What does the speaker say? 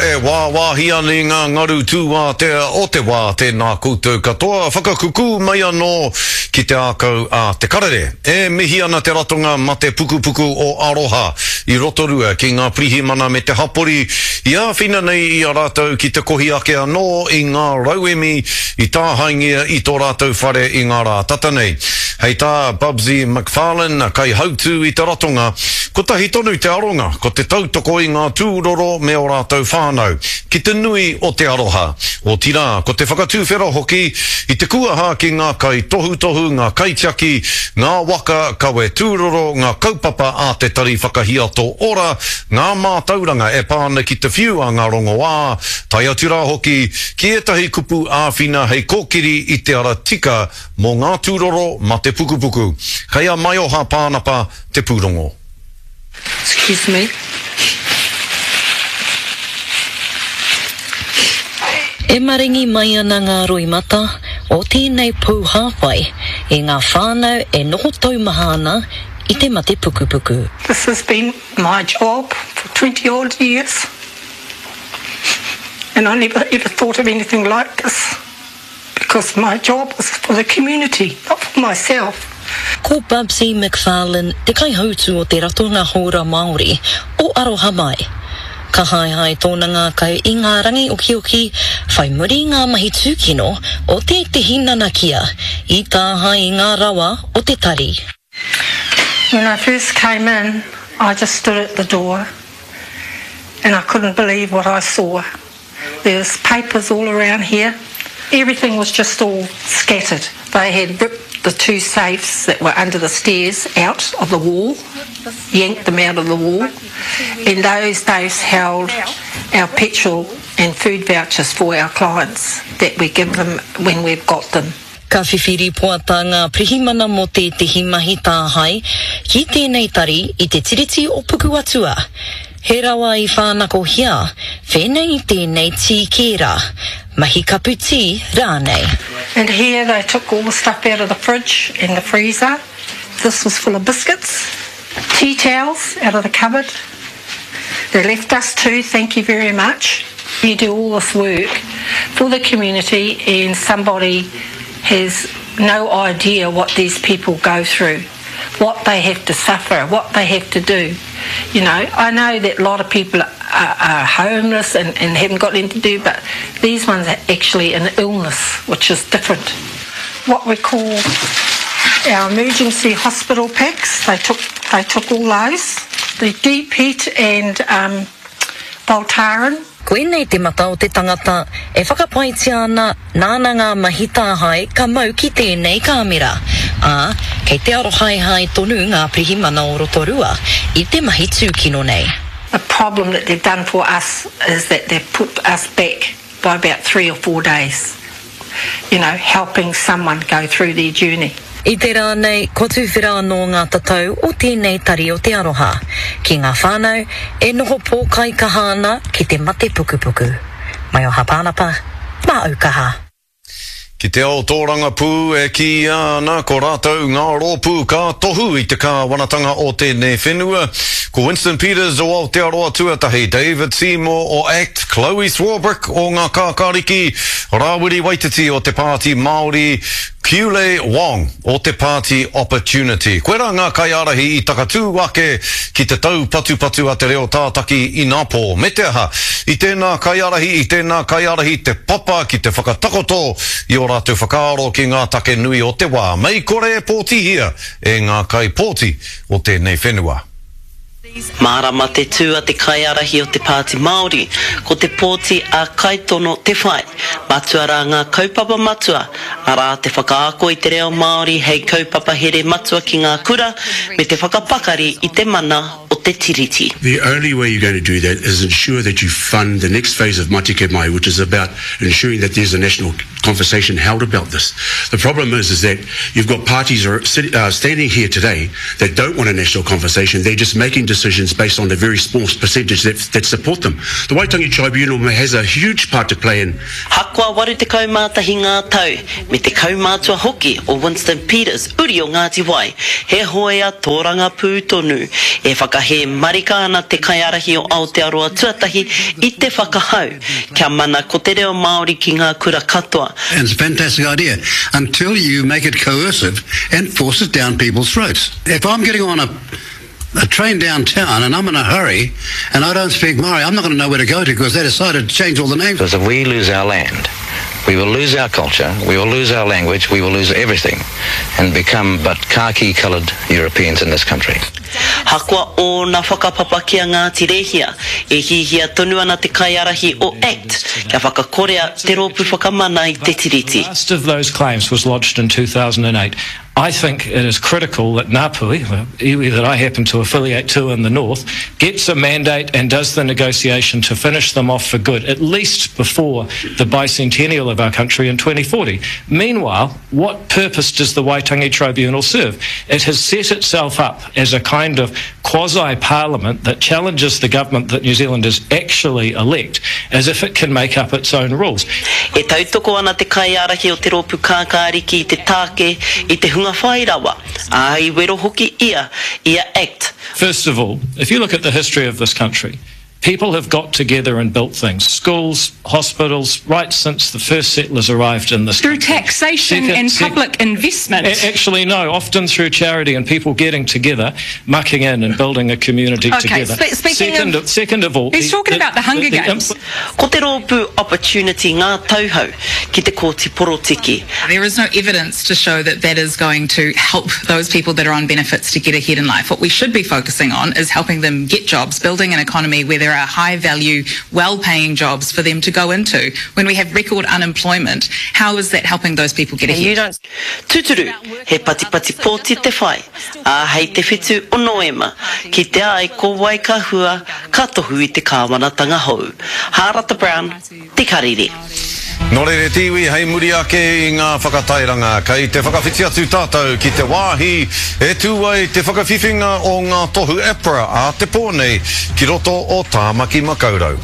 e wāwāhi ana i ngā ngaru tūātea o te wā tēnā koutou katoa, whakakukū mai anō ki te ākau a Te Karere. E mihi ana te ratonga mate pukupuku o Aroha i Rotorua ki ngā pirihimana me te hapori i āwhina nei i a rātou ki te kohi ake anō i ngā rauemi i tāhaengia i tō rātou whare i ngā rā tata nei. Hei tā Bubsy McFarlane, kaihautū i te ratonga, kotahi tonu te aronga, ko te tautoko i ngā tūroro me ō rātou whānau, ki te nui o te aroha. Otirā, ko te whakatuwhera hoki i te kuaha ki ngā kaitohutohu, ngā kaitiaki, ngā waka kawe tūroro, ngā kaupapa a te Tari Whakahiato Ora, ngā mātauranga e pā ana ki te whiu a ngā rongoā, tae atu rā hoki ki ētahi kupu āwhina hei kōkiri i te ara tika Mō ngā tūroro mate pukupuku. Kei a Maioha Pānapa te pūrongo. Excuse me. E maringi mai ana ngā roimata o tēnei pou hāpai i ngā whānau e noho taumaha ana i te mate pukupuku. This has been my job for 20 odd years and I never ever thought of anything like this. Because my job is for the community, not for myself. Ko Bubsy McFarlane te kaihautū o te Ratonga Hōra Māori o Aroha Mai. Ka haehae tōna ngākau i ngā rangi okioki whai muri i ngā mahi tūkino o tētehi nanakia i tāhae i ngā rawa o te tari. When I first came in, I just stood at the door and I couldn't believe what I saw. There's papers all around here. Everything was just all scattered. They had ripped the two safes that were under the stairs out of the wall, yanked them out of the wall, and those safes held our petrol and food vouchers for our clients that we give them when we've got them. Ka whiwhi rīpoata ngā pirihimana mō tētehi mahi tāhae ki tēnei tari i te Tiriti o Pukuatua. He rawa i whānakohia, whēnei i tēnei tī kēra, mahi kapu tī rānei. And here they took all the stuff out of the fridge and the freezer. This was full of biscuits, tea towels out of the cupboard. They left us too, thank you very much. You do all this work for the community and somebody has no idea what these people go through, what they have to suffer, what they have to do. You know, I know that a lot of people are, are homeless and, and haven't got anything to do, but these ones are actually an illness, which is different. What we call our emergency hospital packs, they took, they took all those. The deep heat and um, Voltaren. Koinei te mata o te tangata e whakapaetia ana nāna ngā mahi tāhae ka mau ki tēnei kāmera, ā, kei te arohaehae tonu ngā pirihimana o Rotorua i te mahi tūkino nei. The problem that they've done for us is that they've put us back by about three or four days, you know, helping someone go through their journey. I te rā nei, kua tuwhera anō ngā tatau o tēnei tari o Te Aroha ki ngā whānau e noho pōkaikaha ana ki te mate pukupuku. Maioha Pānapa, mā Aukaha. Ki te ao tōrangapū e kīia ana ko rātou ngā rōpū ka tohu i te kāwanatanga o tēnei whenua. Ko Winston Peters o Aotearoa Tuatahi, David Seymour o act, Chloe Swarbrick o Ngā Kākāriki, Rāwiri Waititi o Te Pāti Māori, Kiule Wong o te Pāti Opportunity. Koirā ngā kaiārahi i takatū ake ki te taupatupatu a te reo tātaki inapō. Me te aha, i tēnā kaiārahi, i tēnā kaiārahi te papa ki te whakatakoto i ō rātou whakaaro ki ngā take nui o te wā, mei kore e pōtihia e ngā kaipōti o tēnei whenua. Mārama te tū a te kaiārahi o te Pāti Māori, ko te pōti a Kaitono te whai. Matua rā ngā kaupapa matua, arā te whakaako i te reo Māori hei kaupapa here matua ki ngā kura me te whakapakari i te mana o te Tiriti. The only way you're going to do that is ensure that you fund the next phase of Matike Mai, which is about ensuring that there's a national conversation held about this. The problem is, is that you've got parties are, uh, standing here today that don't want a national conversation. They're just making decisions. decisions based on the very small percentage that, that support them. The Waitangi Tribunal has a huge part to play in. Hakoa 81 ngā tau, me te kaumātua hoki o Winston Peters, uri o Ngāti Wai, he hoea tōrangapū tonu. E whakahē marika ana te kaiārahi o Aotearoa Tuatahi i te whakahau kia mana ko te reo Māori ki ngā kura katoa. And it's a fantastic idea until you make it coercive and force it down people's throats. If I'm getting on a a train downtown and I'm in a hurry and I don't speak Māori, I'm not going to know where to go to because they decided to change all the names. Because if we lose our land, we will lose our culture, we will lose our language, we will lose everything and become but khaki-coloured Europeans in this country. Hakoa ōna whakapapa ki a Ngāti Rēhia, e hihia tonu ana te kaiārahi o act kia whakakorea te Rōpū Whakamana i te Tiriti. The last of those claims was lodged in 2008. I think it is critical that Ngāpuhi, the iwi that I happen to affiliate to in the north, gets a mandate and does the negotiation to finish them off for good, at least before the bicentennial of our country in 2040. Meanwhile, what purpose does the Waitangi Tribunal serve? It has set itself up as a kind of quasi-parliament that challenges the government that New Zealanders actually elect, as if it can make up its own rules. E tautoko ana te kaiārahi o te Rōpū Kākāriki i te tāke i te hunga whai rawa, ā, i wero hoki ia i a Act. First of all, if you look at the history of this country, people have got together and built things, schools, hospitals, right since the first settlers arrived in this Through country. taxation Second, and sec- public investment. A- actually, no, often through charity and people getting together, mucking in and building a community Okay, together. spe- speaking second of- second of all... He's talking about the Hunger Games. Ko te rōpū Opportunity ngā tauhou ki te Kōti Porotiki. There is no evidence to show that that is going to help those people that are on benefits to get ahead in life. What we should be focusing on is helping them get jobs, building an economy where there are high-value, well-paying jobs for them to go into. When we have record unemployment, how is that helping those people get ahead? Tūturu, he patipati pōti te whai, ā, hei te whitu o Noema, kitea ai ko wai ka hua, ka tohu i te kāwanatanga hou. Hārata Brown, Te Karere. Nō reira te iwi, hei muri ake i ngā whakatairanga, kei te whakawhiti atu tātou ki te wāhi e tū ai te whakawhiwhinga o ngā tohu APRA a te pō nei ki roto o Tāmaki Makaurau.